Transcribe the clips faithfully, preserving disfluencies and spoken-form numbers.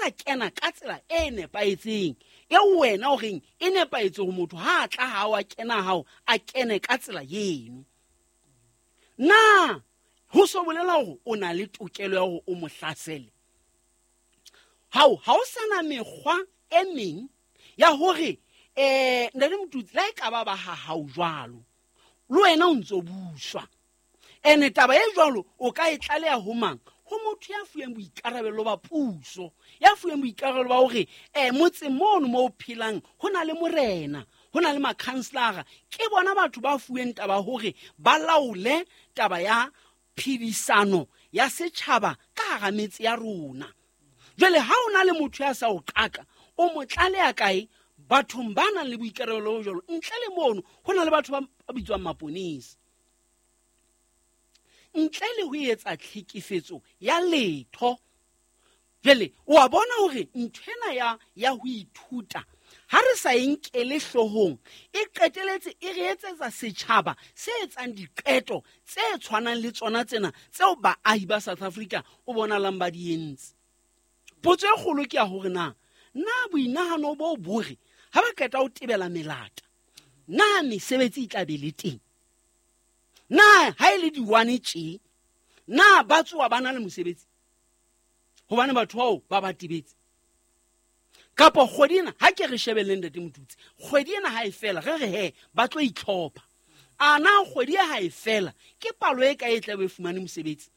sa kena ka tsela e nepahetseng eo wena o reng e nepahetse ho motho ha a tla ha wa kena hao a kene ka tsela eno, na ho so bolela hore o na le tokelo ya hore o mo hlasele? Hao ha o sana mekgwa e meng ya hore eh ntate Motutsi la e ka ba ba ha hao jwalo le wena o ntso buswa. Ene taba e jwalo o ka e tlaleha ho mang? Ho motho ya fuweng boikarabelo ba puso, ya fuweng boikarabelo ba hore eh motseng mono mo o phelang ho na le morena, ho na le makhanselara. Ke bona batho ba fuweng taba hore ba laole taba ya phedisano ya setjhaba ka hara metse ya rona. Jwale ha o na le motho ya sa o qaka, o mo tlaleha kae? Bathong ba nang le boikarabelo bo jwalo. Ntle le mono ho na le batho ba bitswang maponesa. Ntle le ho etsa tlhekefetso ya letho. Jwale o a bona hore nthwena ya ya ho ithuta ha re sa e nkele hloohong, e qeteletse e re etsetsa setjhaba se etsang diqeto tse tshwanang le tsona tsena tseo baahi ba South Africa o bonalang ba di entse. Potso e kgolo ke ya hore na na boinahano bo bore ha ba qeta ho tebela melata, na mesebetsi e tla be le teng? Na ha e le diwane tje, na ba tsoa ba na le mosebetsi? Hobane batho bao ba ba tebetse. Kapa kgwedi ena, ha ke re shebelleng ntate Motutsi, kgwedi ena ha e fela, re re he, ba tlo itlhopha. A na kgwedi ha e fela, ke palo e kae e tla be e fumane mosebetsi?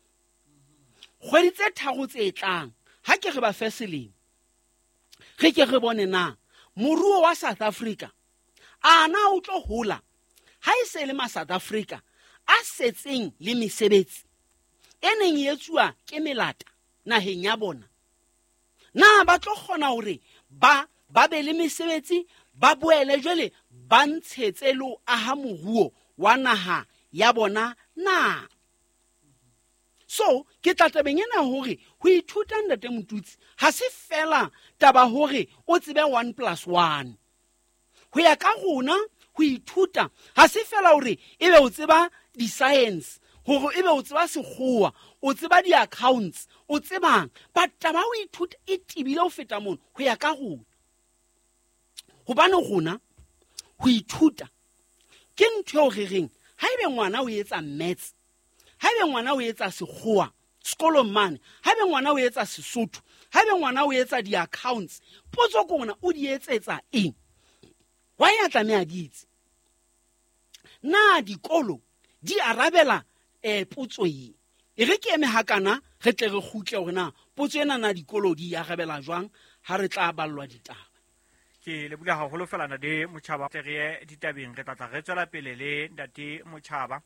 Kgwedi tse tharo tse tlang, ha ke re ba fe selemo, re ke re bone na moruo wa South Africa a na o tlo hola ha e se le ma South Africa a setseng le mesebetsi e neng e etsuwa ke melata naheng ya bona. Na ba tlo kgona hore ba ba be le mesebetsi, ba boele jwale ba ntshetse le ho aha moruo wa naha ya bona na? So ke tla tabeng ena hore ho ithuta ntate Motutsi ha se fela taba hore o tsebe one plus one. Ho ya ka rona ho ithuta ha se fela hore ebe o tseba di-science, hore ebe o tseba sekgowa, o tseba di-accounts, o tsebang. But taba ho ithuta e tebile ho feta mono ho ya ka rona. Hobane rona ho ithuta ke ntho eo re reng haebe ngwana o etsa maths, haebe ngwana o etsa sekgowa sekolong mane, haebe ngwana o etsa Sesotho, haebe ngwana o etsa di-accounts, potso ke hore o di etsetsa eng? Why a tlameha di etse? Na dikolo di arabela eh potso e? E re ke eme hakana re tle re kgutle hore na potso ena na dikolo di arabela jwang ha re tla ballwa ditaba. Ke leboha haholo fela ntate Motjhaba, tle re ye ditabeng, re tla tla re tswela pele le ntate Motjhaba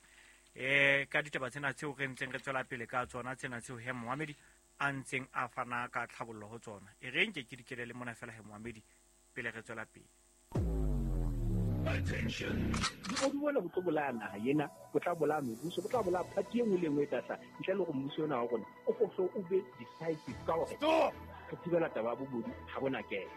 eh ka ditaba tsena tseo re ntseng re tswela pele ka tsona tsena tseo he Mohamedi a ntseng a fana ka tlhabollo ho tsona. E re nke ke dikele le mona fela he Mohamedi pele re tswela pele. Attention. Bobodu bona bo tlo bolaya naha ena, bo tla bolaya mebuso, bo tla bolaya party e nngwe le e nngwe e tla hlaha. Ntle le hore mmuso ona wa rona o ko hlo o be decisive ka hore Stop! re thibela taba ya bobodu ha bona kelo.